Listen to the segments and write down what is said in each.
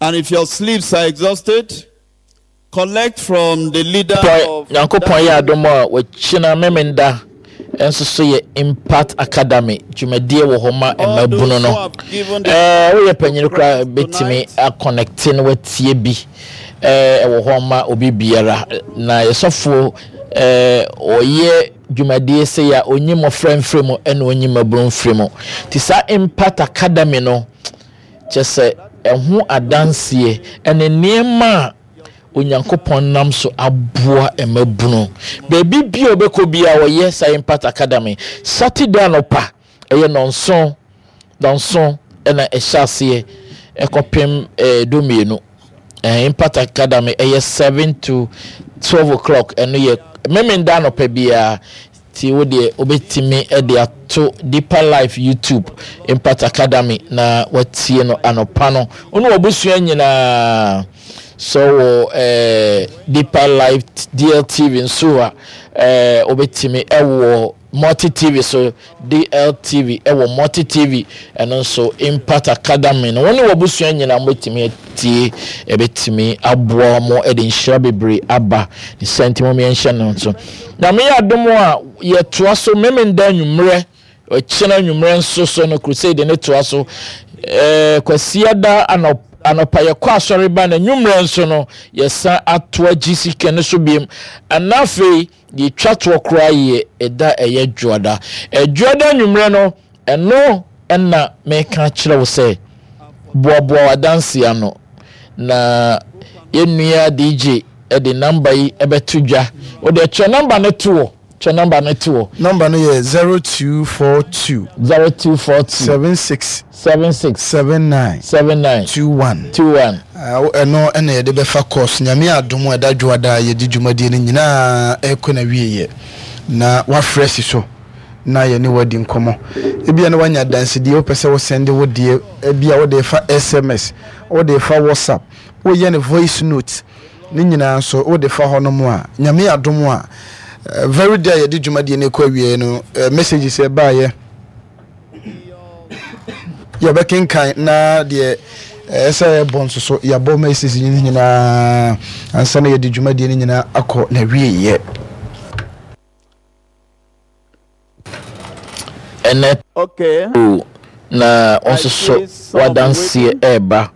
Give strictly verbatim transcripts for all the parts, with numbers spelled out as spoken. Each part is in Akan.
And if your sleeves are exhausted, collect from the leader of Nyankopɔn yɛ adom a, wɔkyina Memenda nso so yɛ Impact Academy dwumadie wɔ hɔ ma mmabunu no. ɛɛ woyɛ panyin koraa, bɛtumi aconnecte no, watie bi. ɛɛ ɛwɔ hɔ ma obi biara, na yɛsɔfo ɛɛ ɔyɛ dwumadie sɛ yɛ a onyi mmɔfra mfiri mu ɛna onyi mmabunu mfiri mu. Te saa Impact Academy no, kyɛ sɛ ɛho adanseɛ ɛne nneɛma a Onyankopɔn nam so aboa mmabunu beebi bi a ɔbɛkɔ bi a wɔyɛ saa Impact Academy. Saturday anɔpa ɛyɛ nɔnson nɔnson ɛna ɛhyɛ aseɛ ɛkɔpem ɛɛ dumienu. ɛɛ Impact Academy ɛyɛ seven to twelve o'clock. Ɛno yɛ Memenda anɔpa biara, ti wo deɛ wobɛtumi ɛde ato Deeper Life YouTube, Impact Academy, na watie no anɔpa no. Wo ne wabusua nyinaa so wɔ ɛɛ Deeper Life D L T V nso a, ɛɛ wobɛtumi ɛwɔ Multi T V so, D L T V ɛwɔ Multi T V. Ɛno nso Impact Academy no, wɔn ne wabusua nyinaa wobɛtumi atie, ɛbɛtumi aboa wɔn, ɛde nhyira bebree aba ne sɛ. Nti mo yɛnhyɛ no nso na meyɛ adom a yɛtoa so Memenda anwummerɛ. Ɔkyena anwummerɛ nso so no, crusade ne toa so. ɛɛ kwasiada anɔpa anɔpa yɛkɔ asɔre ba, na anwummerɛ nso no yɛsan atoa G C K no so biem. Ɛna afei yɛtwa toɔ koraa yɛ ɛda ɛyɛ Dwoada. Ɛdwoada anwummerɛ no, ɛno ɛna meka kyerɛ wo sɛ boaboa w'adanse ano, na yɛnnua D J ɛde number yi ɛbɛto dwa. Wode kyerɛ number no to wɔ, kyerɛ number no to wɔ. Number no yɛ zero two four two. Zero two four two. seven six. Seven six. seven nine. Seven nine. two one. Two one. Ɛno ɛna yɛde bɛfa course. Nyame adom a, ɛda Dwoada a yɛde dwumadie no nyinaa ɛkɔ na wieɛ na wafrɛ si so na yɛne wadi nkɔmmɔ. Ebia na wanya adansedie, wopɛ sɛ wosende wo deɛ, ebia wode fa S M S, wode fa WhatsApp, woyɛ no voice note ne nyinaa nso, wode fa hɔ nom a, Nyame adom a, eh, very day a yɛde dwumadie no kɔ awie no, eh, messages ɛbaayɛ yɛbɛkenkan, na deɛ ɛɛ sɛ yɛbɔ nso so yɛabɔ messages no nyinaa ansa na yɛde dwumadie no nyinaa akɔ na wieɛ. Ɛnɛ Okay. na ɔnso so wadanseɛ ɛɛba.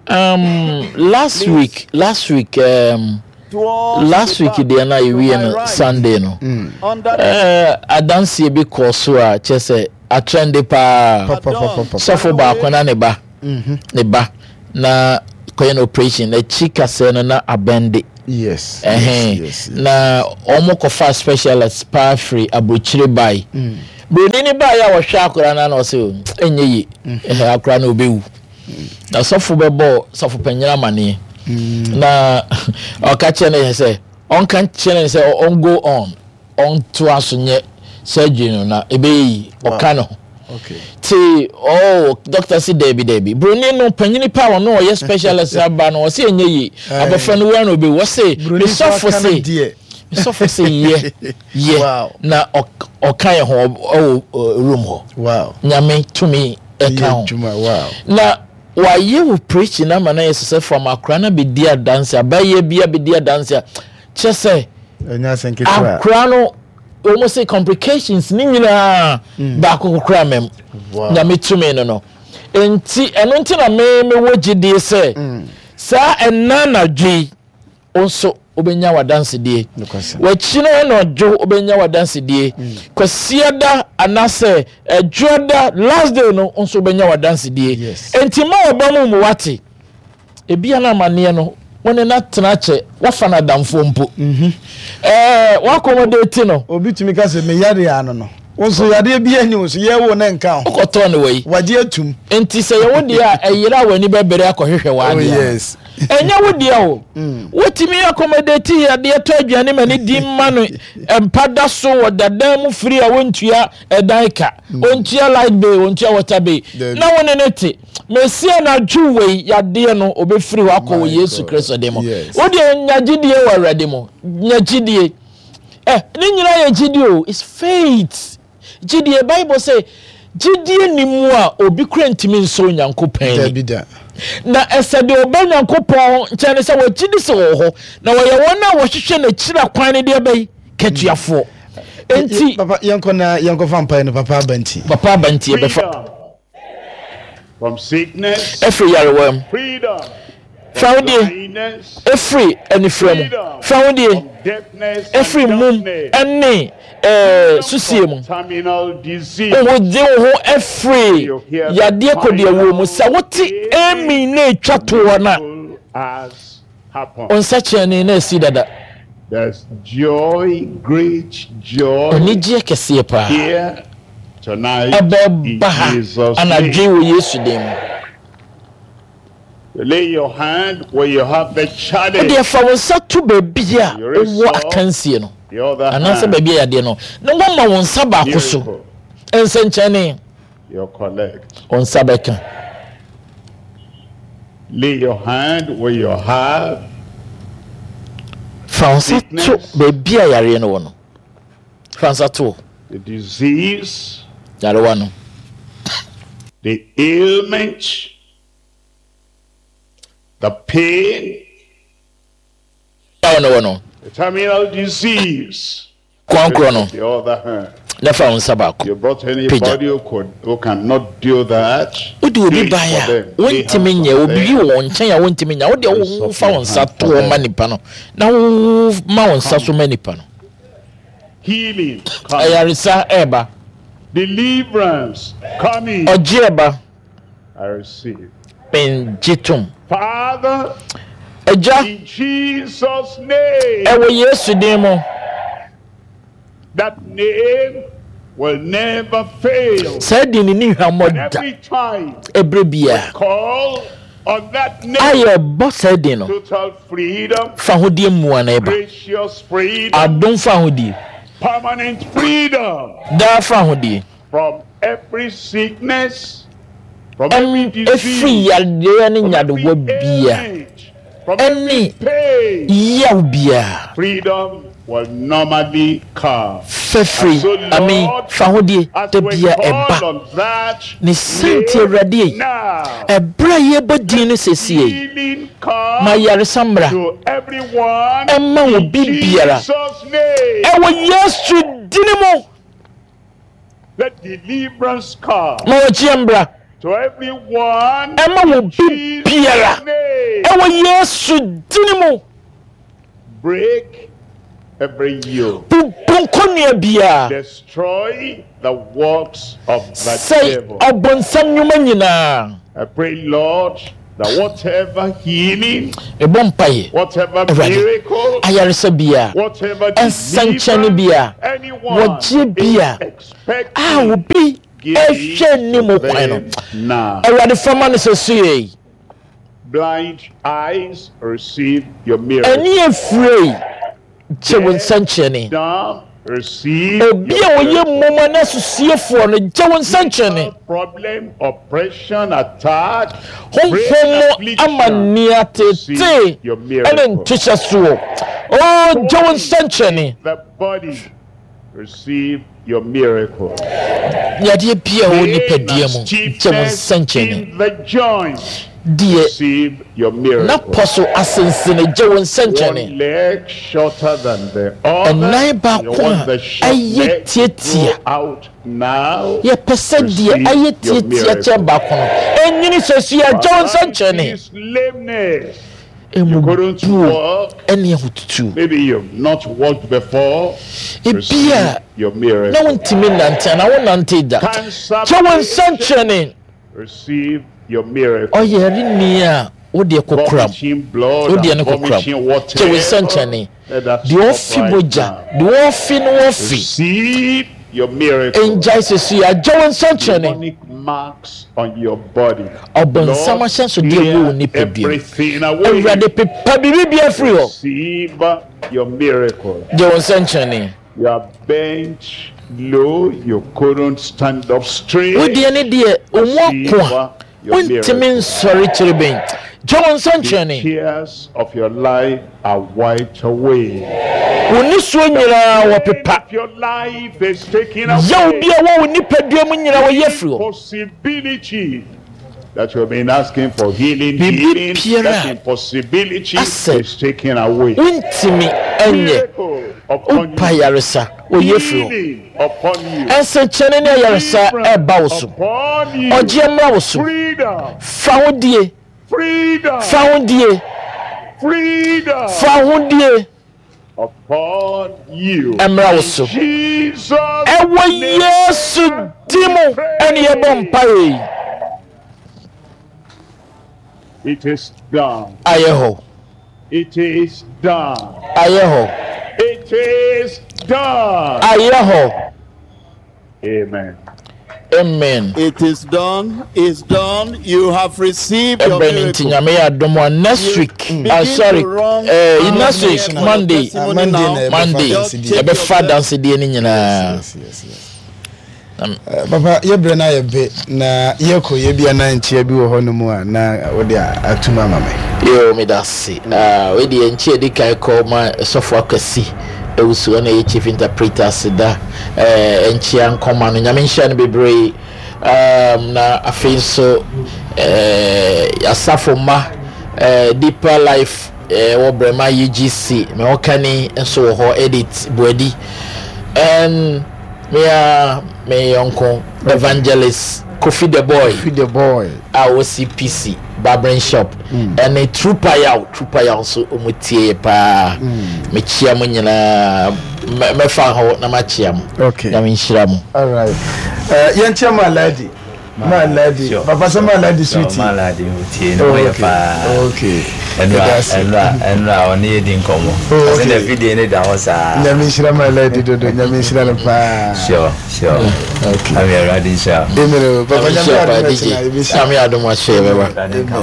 um, last week last week um, last week deɛ na yɛwie no Sunday no, uh, adanseɛ bi kɔɔ so a kyerɛ sɛ atrende paa. Sɔfo baako na ne ba ne ba na kɔyɛ no operation, n'akyi kasɛɛ no na abɛnde. yes ɛhɛn yes yes Na wɔn kɔfa specialist paa firi aburokyire bae. Buroni ne baeɛ a wɔhwɛ akwaraa no, na ɔsɛ ɛnyɛ yie, ɛhɛ akwaraa no ɔbɛwu. Na sɔfo bɛbɔ sɔfo panyin amaneɛ na ɔka kyerɛ no yɛ sɛ ɔnka kyerɛ no sɛ ɔn go on, ɔntoa so nyɛ surgery no na ɛbɛyɛ yi. Ɔka no ho okay ti, oh, doctor si dɛbi dɛbi. Buroni no panyin pa a ɔno ɔyɛ specialist aba no, ɔsɛ ɛnyɛ yie, abɔfra no wura na ɔbɛwu. Ɔsɛ Buroni nso mesɔfo aka no se deɛ. Mesɔfo se yɛ yɛ Wow. na ɔk- ɔka yɛ ho ɔwɔ ɔ, room hɔ. Wow nyame tumi ɛka Yɛ ho. adwuma, wow. Na wayɛ wo preaching ama na yɛ sɛ from akora na bɛdi adanse, abayɛ bi abɛdi adanse a kyerɛ sɛ Ɛnyɛ asɛm ketewa. Akora no, wɔn sɛ complications ne nyinaa baako kokora mɛm. Wow. Nyame tumi no no nti, ɛno nti na me mewɔ gyidie sɛ saa ɛna anadwo yi wo nso wobɛnya w'adansedie. Nokwasɛm. W'akyi no anadwo wobɛnya w'adansedie. Kwasiada anaasɛ Ɛdwoada last day no nso wobɛnya w'adansedie. Yes. Enti ma wɔba mu mu wate ebia no amanneɛ no, wo ne no atena kyɛ, woafa no adamfoɔ mpo, ɛɛ woakɔmɔde ti no. Obi tumi ka sɛ meyare ano no, wo nso yadeɛ bi ani wo so, yɛwo ne nka ho. Wokɔtɔɔ no wɔ yi. Wagye atum. Nti sɛ yɛwo deɛ a ɛyere a w'ani bɛbere akɔhwehwɛ oh w'adeɛ. Yes ɛnyɛ wo deɛ o, wotumi accommodate adeɛ, tɔ aduane ma ne di ma no, mpa da so wɔ dadan mu firi a wɔntua ɛdan ka, ɔntua light bill, ɔntua water bill. Dabi. Na wo ne ne te mesie anadwo wei, yadeɛ no ɔbɛfiri hɔ akɔ wɔ My Yesu God. Kristo de mu. Yes. Wo deɛ nya gyidie wɔ Awurade mu, nya gyidie. Ɛ ne nyinaa yɛ gyidie o, it's faith, gyidie. Bible say Gyidie ni mu a obi kura ntumi nsɔ Onyankopɔn ani. Dabi da. Na ɛsɛ deɛ ɔba Nyankopɔn nkyɛn no sɛ wɔgye di sɛ ɔwɔ hɔ, na wɔyɛ wɔn a wɔhwehwɛ n'akyiri kwan no deɛ bɛyi katuafoɔ. Enti Papa, yɛnkɔ na yɛnkɔfa mpaeɛ no. Papa aba nti. Papa aba nti yɛbɛfa. Freedom from sickness, Ɛfiri yarewa mu. freedom Fa from wo deɛ blindness, ɛfiri anifira mu. freedom Fa wo deɛ from deafness and ɛfiri mum dumbness, ɛne ɛɛ freedom susie from mu. terminal disease. Wogye wo ho ɛfiri yadeɛ kɔdeɛwuo mu. Sɛ wote amen na etwa toɔ no a, Miracle has happened. wo nsɛkyerɛnne na asi dada. There's joy, great joy Anigyeɛ kɛseɛ paa here tonight in ɛbɛba ha Jesus' anadwo name. wɔ Yesu din mu. You lay your hand where you have the challenge. Wodeɛ fa wo nsa to baabi a wowɔ akansie no The other anaasɛ hand, baabi a yadeɛ no, na woama wo nsa baako so. miracle, Nsɛnkyɛnne, you collect. wo nsa bɛka. Lay your hand where you have Fa wo nsa to baabi a yareɛ no wɔ no. Fa nsa to hɔ. the disease, Yarewa no, the ailment, the pain, yawo no wɔ no, the terminal disease. kwan no, The other hand. na fa wo nsa baako You brought anybody who could who cannot do that. Wode Do obi it baeɛ for a them. Lay wontumi hands nyɛ on obi them. wɔ wɔn nkyɛn a wontumi nyɛ, wode wofa wo nsa toɔ ma nipa no na woma wo nsa so ma nipa no. Healing coming. Ayaresa ɛɛba. Deliverance coming. Ɔgye ɛba. I receive. Mengye tom. Father, Agya, in Jesus' name, ɛwɔ Yesu din mu, that name will never fail. saa din ne ne hwammɔ And da. every time Ɛberɛ biara call on that name, a yɛbɔ saa din no, total freedom, fa ahodie mmoa na ɛba. gracious freedom, Adom fa ahodie, permanent freedom daa fa ahodie from every sickness, from every ɛm ɛfiri disease, yadeɛ ne from every nyadewa bia ailment, from every ɛne pain. yaw biara. Freedom will normally come. Fɛfiri And so, ame Lord, fa ahodie as da we bia call ɛba. on that Ne sɛnti, name Awurade yi, now, ɛberɛ a yɛbɔ din no sesie yi, healing come ma yaresa mmra to everyone ɛma in obi biara Jesus' name. ɛwɔ Yesu dini mu. Let deliverance come Ma wɔgyeɛ mbra to everyone ɛma in obi biara Jesus' name. ɛwɔ Yesu dini mu. Break every yoke. Bubu nkɔnnua biara. Destroy the works of the Sɛe devil. ɔbɔnsam nnwuma nyinaa. I pray, Lord, that whatever healing, Ɛbɔ mpaeɛ, whatever Awurade, miracle, ayaresa biara, whatever nsɛnkyɛnne deliverance biara, anyone wɔgye bia is expecting, a obi give ɛhwɛ it anim to kwan no, them now. Awurade, fama no sɛ so yɛ. Blind eyes, receive your miracle. Ɛne efire gye wo nsɛnkyerɛnne. Dumb, receive Obi your a wɔyɛ miracle. mmoma ne asusiefoɔ no, gye wo nsɛnkyerɛnne. Problem, oppression, attack, brain Honhom mu affliction, amanneɛ tete receive your ɛne miracle. ntohyɛ soɔ o, gye wo nsɛnkyerɛnne. The body, receive your miracle. Yadeɛ bia a ɛwɔ Pain nipadua and mu, gye wo stiffness nsɛnkyerɛnne. in the joints, Deɛ receive your miracle. napɔ so asensene, gye wo One nsɛnkyerɛnne. leg shorter than the other. Ɛnan You baako want a the short ɛyɛ leg to tietia. grow out now. Yɛpɛ sɛ deɛ Receive ayɛ your tietia miracle. kyɛn baako no ɛnyini sɛ sua, gye wo nsɛnkyerɛnne. Paralysis, lameness. You couldn't Emubuo walk. ɛne ahotutuo. Maybe you've not walked before. Ebi Receive a your na miracle. wontumi nante anaa wonante da, Cancer gye wo patient, nsɛnkyerɛnne. receive your miracle. Ɔyɛre a wodeɛ kokoram, Vomiting blood wodeɛ and no kokoram, vomiting water. gye wo nsɛnkyerɛnne. Let that Deɛ stop ɔfi right mogya, now. deɛ ɔfi no wɔfi Receive your miracle. ngyae sɛsi a, gye wo nsɛnkyerɛnne. Demonic marks on your body. Ɔbɔnsam Lord, ahyɛnsodeɛ wɔ wo clear nipadua mu, everything away. Awurade, pepa biribi bia firi hɔ. Receive your miracle. Gye wo nsɛnkyerɛnne. You are bent low, you couldn't stand up straight. Wodeɛ ne deɛ ɔmu ako a Your wontumi miracle. nsɔre kyerɛ gye wo The nsɛnkyerɛnne. tears of your life are wiped away. Wo nisuo nyinaa wɔpepa. Of your life is taken Yaw away. bi a wɔ wo nipadua mu nyinaa wɔyi afiri hɔ. Impossibility that you've been asking for healing, Biribi healing, biara that impossibility asɛ is taken away. Wontumi ɛnyɛ. Miracle upon Wopa you. yaresa wɔyi afiri hɔ. Healing upon you. Ɛnsɛnkyerɛnne ne ayaresa ɛba wo so. Upon you. Ɔgyeɛ mmra wo so. Freedom. Fa ho die. Freedom. Fa ho die. Freedom. Fa ho die. Upon you. Ɛmmra wo so. Jesus. Ɛwɔ name Yesu din mu ɛne yɛbɔ mpaeɛ yi. It is done. Ayɛ hɔ. It is done. Ayɛ hɔ. It is done. Ayɛ hɔ. Amen. Amen. It is done. It's done. You have received your Ɛbrɛ ne nti miracle. Nyame yɛ adom a next You week, begin ah, sorry, to run eh, out next here week for your Monday, testimony Monday now. na yɛbɛfa Monday adansedie. yɛbɛfa adansedie no nyinaa. Yes, yes, yes. Eh, papa, yɛbrɛ no ayɛ be na yɛkɔ yɛ bia na nkyea bi wɔ hɔ no mu a na wode atum ama me. Yo, meda ase. Ah, wei deɛ nkyɛ di kan kɔ ma Sɔfo Akwasi Ewusu, ɛna ɛyɛ chief interpreter aseda eh, nkyea nkɔma no. Nyame nhyira no bebree. um, na afei nso eh, asafo mma eh, Deeper Life eh, wɔ Brɛma U G C, me ɔkani nso wɔ hɔ, Edit Buadi, and me a me yɔnko Evangelist Kofi the Boy. Free the Boy. A wɔ C P C barbering shop ɛne Trooper Yaw, Trooper Yaw nso ɔmo tie yɛ paa. Mekyia mo nyinaa. Mɛ- mɛfa hɔ na makyia mo. Okay. Nyame nhyira mo. Alright, uh, yɛnkyɛ ma Aladi, ma Aladi. Sure. Papa sɛ ma Aladi sweetie. Maladi tie no Oh, ɔyɛ okay. paa. Okay. Ɛnura Yɛda ase. ɛnura ɛnura ɔne yɛ di nkɔmɔ. Oh, Ɔsɛ okay. na fidie ne da hɔ saa. Nyame nhyira ma Aladi dodo. Nyame nhyira no paa. Sure sure. Okay. Ami, Awurade nhyira. Amen o. Papa, Nyame Nyame nhyira paa. adom D J. akyi na yɛbɛhyia. Nyame adom ahyɛ yɛbɛba.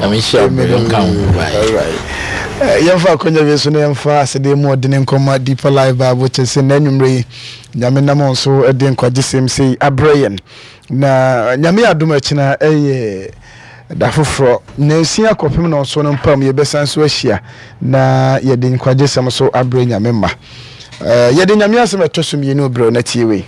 Nyame nhyira. Amen. Nka ho. Bye. Alright. Eh, yɛmfa akonnwa bi so na yɛmfa asɛdeɛ mu ɔdene nkɔma Deeper Life Bible kyɛ sɛ na anwummerɛ yi Nyame nam wɔn so de nkwagye sei abrɛ yɛn, na Nyame yɛ adom akyina ɛyɛ da foforɔ na nsia kɔpem na ɔso no mpam yɛbɛsan so ahyia na yɛde nkwagye sɛm so abrɛ Nyame ma. Eh, yɛde Nyame asɛm ɛtɔ so mmienu brɛ na tie wei.